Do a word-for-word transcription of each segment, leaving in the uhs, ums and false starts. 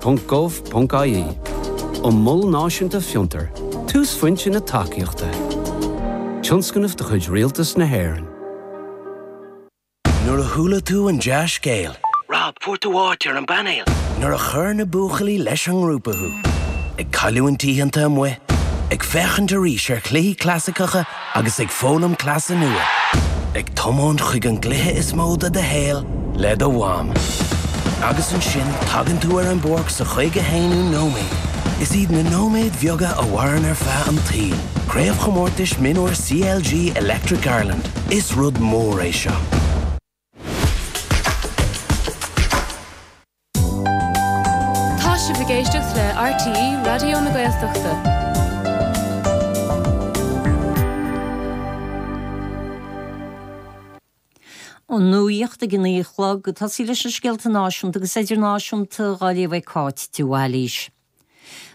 ponc gov ponc ie. An Mol Náisiúnta Fiontar, túsphointe na tacaíochta. Tionscnamh de chuid Rialtas na hÉireann. Nuair a chuala tú an dea-scéal. Rob, fuair tú áit ar an bpainéal. Nuair a chuir na buachaillí leis an ngrúpa thú. Ag cailliúint oícheanta amuigh, ag féachaint arís ar chluichí clasaiceacha agus ag foghlaim cleasa nua. Ag tiomáint chuig an gcluiche is mó de do shaol le do mham. Agus ansin tagann tú ar an bpáirc sa chaoga haonú nóiméad. Is iad na nóiméid bheaga a mhaireann ar feadh an tsaoil. Craobhchomórtais Mionúir CLG Electric Ireland. Is rud mór é seo. Tá sibh ag éisteacht le RTÉ Raidió na Gaeltachta. An nuacht ag a naoi a chlog ag tosaí leis na scéalta náisiúnta agus idirnáisiúnta á léamh ag Cáit de Bhailís.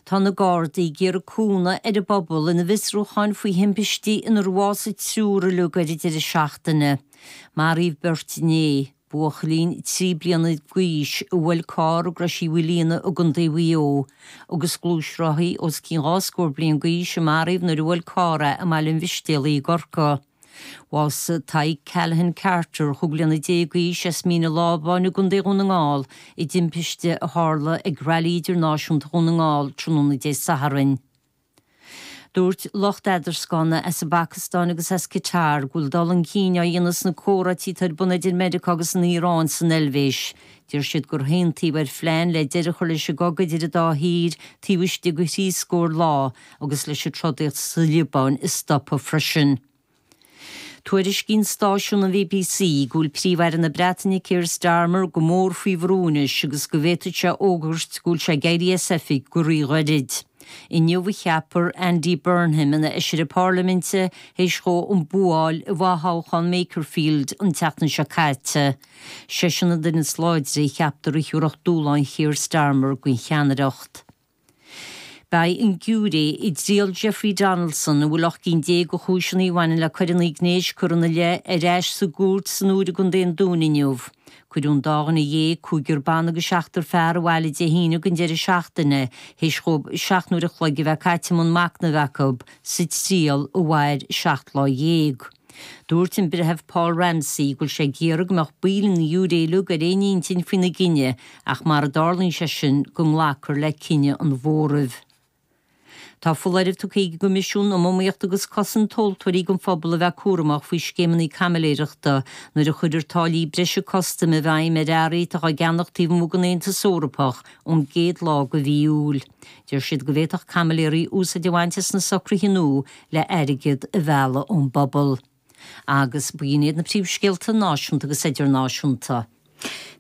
Tá na Gardaí ag iarraidh cúnamh ar an bpobal ina bhfiosrúcháin faoi thimpistí inar bhásaigh triúr uilig ar an deireadh seachtaine. Maraíodh beirt inné, buachaillín trí bliana d'aois a bhuail carr i gCrois Uí Mhaoilíona i gContae Mhaigh Eo, agus gluaisrothaí os cionn dhá scór bliain d'aois a maraíodh nuair a bhuail carr é i mBaile an Mhistéalaigh i gCorcaigh. Bhásaigh Tadhg Callaghan Carter, chúig bliana déag d'aois, as Mín an Lábáin i gContae Dhún na nGall i dtimpiste a tharla ag Railí Idirnáisiúnta Dhún na nGall tráthnóna Dé Sathairn. Dúirt lucht eadarscána as an bPacastáin agus as Qatar go bhfuil dul chun cinn á dhéanamh sna comhráití atá ar bun idir Meiriceá agus an Iaráin san Eilvéis. Deir siad gur aontaíodh ar phlean le deireadh a chur leis an gcogadh idir an dá thír taobh istigh de thrí scór lá agus leis an trodaíocht sa Liobáin a stopadh freisin. Tuairiscíonn stáisiún an BBC go bhfuil Príomh-Aire na Breataine Keir Starmer go mór faoi bhrú anois agus go bhféadfadh sé fhógairt go bhfuil sé ag éirí as oifig go ríghairid. Inniu a cheapfar Andy Burnham ina fheisire parlaiminte théis dhó an bua a fháil i bhfothoghchán Makerfield an tseachtain seo caite. Seisean an duine is láidre a cheaptar a thabharfadh dúshlán Keir Starmer don cheannaireacht. Beidh an giúiré i dtriail Jeffrey Donaldson, a bhfuil ocht gcinn déag de chúiseanna a bhaineann le coireanna gnéis curtha ina leith, ar ais sa gcúirt san Iúr i gContae an Dúin inniu. Cuireadh an dá dhuine dhéag, cúigear ban agus seachtar fear, abhaile Dé hAoine don deireadh seachtaine, théis dhóibh seacht n-uair a chloig a bheith caite i mbun machnaimh acu sa triail a mhair seacht lá dhéag. Dúirt an Breitheamh Paul Ramsey go bhfuil sé ag iarraidh go mbeadh baill an ghiúiré uilig ar aon intinn faoina gcinneadh ach mara dtarlaíonn sé sin go nglacfar le cinneadh an mhóraimh. Tá foláireamh tugtha ag an gCoimisiún um Iomaíocht agus Cosaint Tomhaltóirí don phobal a bheith cúramach faoi scéimeanna caimiléireachta nuair a chuirfear táillí breise custaim i bhfeidhm ar earraí atá á gceannach taobh amuigh den Aontas Eorpach ón gcéad lá de mhí Iúil. Deir siad go bhféadfadh caimiléirí úsáid a bhaint as na socruithe nua le airgead a mhealladh ón bpobal. Agus b'in iad na príomhscéalta náisiúnta agus idirnáisiúnta.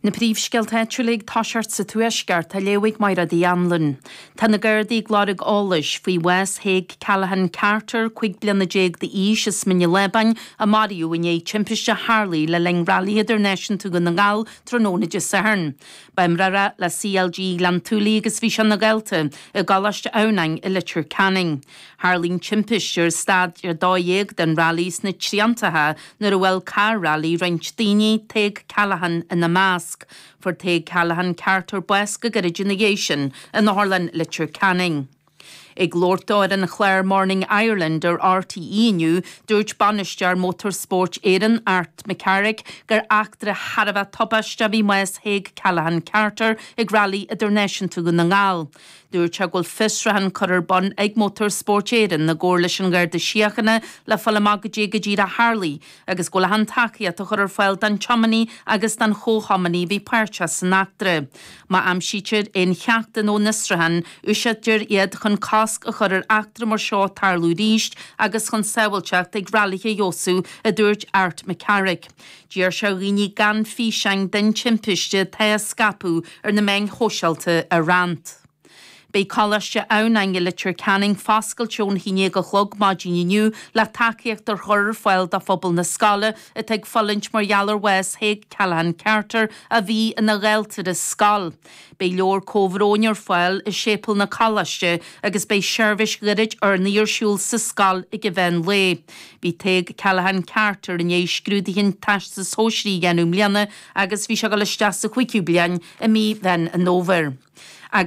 Na príomhscéalta áitiúla ag toiseacht sa Tuaisceart á léamh ag Mairéad Uí Anluain. Tá na Gardaí ag lorg eolais faoi bhás Thaidhg Callaghan Carter, cúig bliana déag d'aois, as Mín an Lábáin, a maraíodh inné i dtimpiste a tharlaigh le linn Railí Idirnáisiúnta Dhún na nGall tráthnóna Dé Sathairn. Ba imreoir é le CLG Ghleann tSúilí agus bhí sé ina dhalta i gColáiste Adhamhnáin i Leitir Ceanainn. Tharlaigh an timpiste ar staid a dó dhéag den railí sna triantacha nuair a bhuail carr railí roinnt daoine, Tadhg Callaghan ina measc. Fuair Tadhg Callaghan Carter bás go gairid ina dhiaidh sin in Otharlann Leitir Ceanainn. Ag labhairt dó ar an chlár Morning Ireland ar RTÉ inniu, dúirt bainisteoir Motorsport Éireann, Art McCarrick, gur eachtra thar a bheith tubaisteach a bhí i mbás Thaidhg Callaghan Carter ag Railí Idirnáisiúnta Dhún na nGall. Dúirt sé go bhfuil fiosrúchán curtha ar bun ag Motorsport Éireann i gcomhar leis an Gharda Síochána le fáil amach goidé go díreach a tharlaigh agus go bhfuil achan tacaíocht á chur ar fáil don tiománaí agus don chomhthiománaí a bhí páirteach san eachtra. Má aimsítear aon cheachtanna ón fhiosrúchán, úsáidtear iad chun cosc a chur ar eachtra mar seo tarlú arís agus chun sábháilteacht ag railithe a fheabhsú, a dúirt Art McCarrick. D'iarr sé ar dhaoine gan físeáin den timpiste atá á scaipeadh ar na meáin shóisialta a roinnt. Beidh Coláiste Adhamhnáin i Leitir Ceanainn foscailte ón haon déag a chlog maidin inniu le tacaíocht a chur ar fáil do phobal na scoile atá ag fulaingt mar gheall ar bhás Thaidhg Callaghan Carter a bhí ina dhalta ar an scoil. Beidh leabhar comhbhróin ar fáil i séipéal na coláiste agus beidh seirbhís ghairid urnaí ar siúl sa scoil ag an mheán lae. Bhí Tadhg Callaghan Carter i ndiaidh scrúduithe an Teastais Shóisearaigh a dhéanamh i mbliana agus bhí sé ag dul isteach sa chúigiú bliain i mí Mheán an Fhómhair.